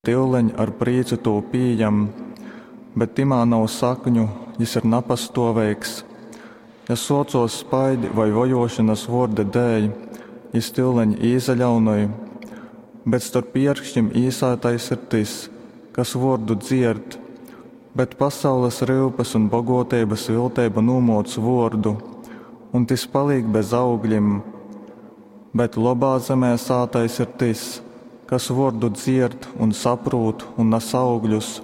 Tyuleņ ar prīcu tū pījam, bet tymā nav sakņu, jys ir napastōveigs. Ja sōcōs spaidi voi vojōšonas vōrda dēļ, jys tyuleņ īsaļaunoj. Bet storp ierkškim īsātais ir tys, kas vōrdu dzierd, bet pasaules ryupes un bogōteibas vilteiba nūmōc vōrdu, un tys palīk bez augļim. Bet lobā zemē sātais ir tys, kas vōrdu dzierd un saprūt un nas augļus,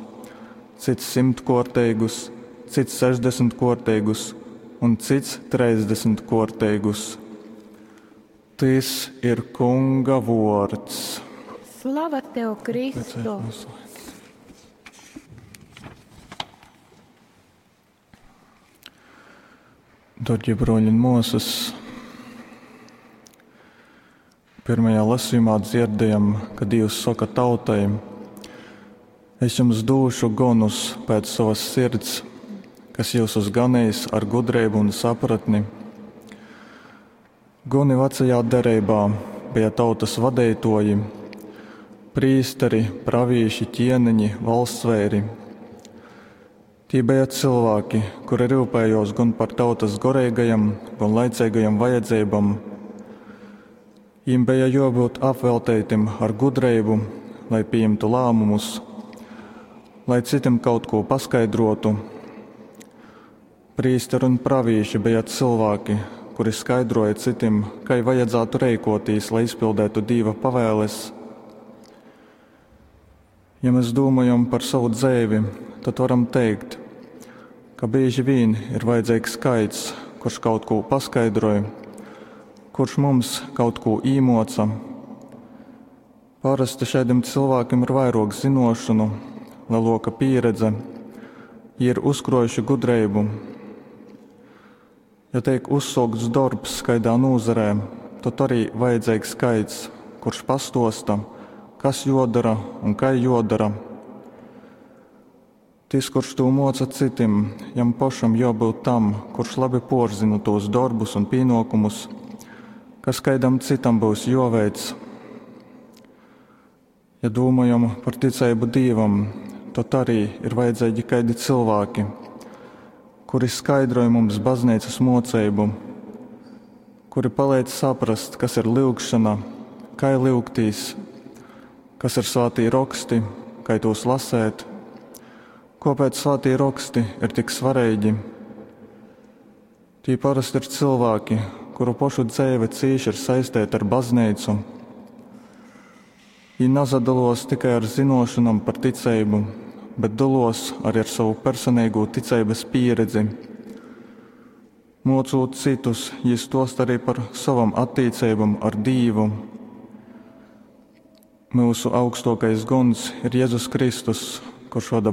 cyts symtkōrteigus, cyts sešdesmitkōrteigus un cyts trejsdesmitkōrteigus. Tys ir Kunga vōrds. Slava tev, Kristu! Darbie broļi un māsas, pirmajā lasījumā dzirdējam, ka Dievs saka tautai: Es jums došu gonus pēc savas sirds, kas jyusus ganeis ar gudrību un sapratni. Goni vecajā derībā bija tautas vadeitoji, prīsteri, pravīši, ķieniņi, valstsveiri. Tī bija cilvēki, kuri rūpējos gan par tautas goreigajam, gan laicīgajam vajadzībām. Viņiem bija jābūt apveltītiem ar gudrību, lai pieņemtu lēmumus, lai citiem kaut ko paskaidrotu. Prīsteri un pravīši bija cilvēki, kuri skaidroja citiem, kā vajadzētu rīkoties, lai izpildētu Dieva pavēles. Ja mēs domājam par savu dzīvi, tad varam teikt, ka bieži vien ir vajadzīgs skaits, kurš kaut ko paskaidroja, kurš mums kaut ko īmoca. Parasti šādiem cilvēkiem ir vairāk zinošanu, lielāka pieredze, viņi ir uzkrojuši gudrību. Ja tiek uzsākts darbs kādā nozarē, tad arī vajadzīgs skaits, kurš pastosta, kas jodara un kā jodara. Tis, kurš to moca citim, jam pašam jābūt tam, kurš labi porzina tos darbus un pienākumus, kas kādam citam būs joveic. Ja domājam par ticību Dievam, tad arī ir vajadzīgi kādi cilvēki, kuri skaidroja mums baznīcas mocību, kuri palīdz saprast, kas ir lūgšana, kā lūgtīs, kas ir svētī raksti, kā tos lasēt, kāpēc svētī raksti ir tik svarīgi. Tī parasti ir cilvēki, kuru pašu dzīve cīši ir saistīta ar baznīcu. Viņi nezadalos tikai ar zinošanām par ticību, bet dalos arī ar savu personīgo ticības pieredzi. Mocot citus, viņi stost arī par savam attiecībām ar Dievu. Mūsu augstākais gons ir Jēzus Kristus, kurš vada baznīcu.